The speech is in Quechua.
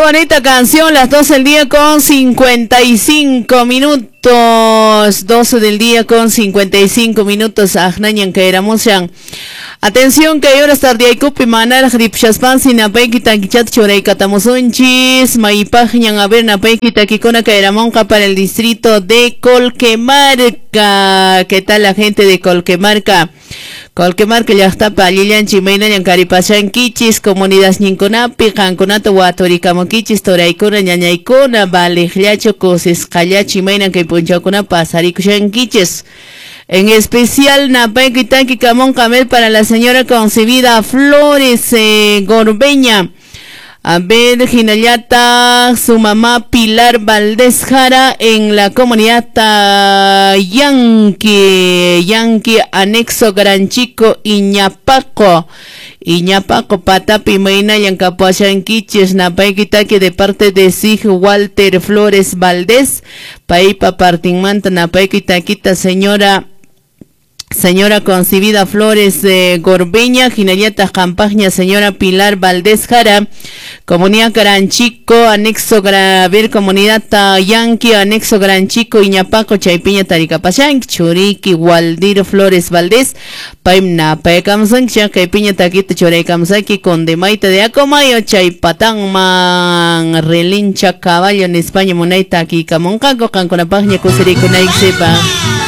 Qué bonita canción, las 12 del día con 55 minutos. 12 del día con 55 minutos. Ajnañan kairamushan. Atención, que horas tardiaykupi manaraq ripshaspansi napayki takichata churaykatamusunchis. Maypaqñan, a ver, napayki takikuna kayramunqa para el distrito de Colquemarca. ¿Qué tal la gente de Colquemarca? Colquemarca llaqtapa allillanchik, imaynallan karipashankichis comunidadninkunapi, qankunata waturikamunkichis, turaykuna, ñañaykuna, valiqllachu, kusisqallachu, imaynan kay punchawkuna pasarikushankichis? En especial, napayki taki kamunqa para la señora Concebida Flores Gorbeña. A ver, hinallataq, su mamá Pilar Valdés Jara en la comunidad Yanqui, Yanqui, anexo Gran Chico, Iñapaco. Iñapaco, patapi, imaynallan kapuashankichis, napayki taki de parte de Sig Walter Flores Valdés, paypa partinmanta napayki takita señora Concibida Flores Gorbeña, hinallataq qampaqña señora Pilar Valdés Jara, Comunidad Gran Chico, anexo Graver, Comunidad Yanqui, anexo Gran Chico, Iñapaco, chaypiña tarikapashanki, churiki Waldir Flores Valdés, paymi napaykamusanki, kaypiña takita churaykamusaki, Condemayta de Acomayo, chaypatanman, relincha caballo en España, munayta takikamunqaku, qankunapaqña kusirikunaykichikpaq.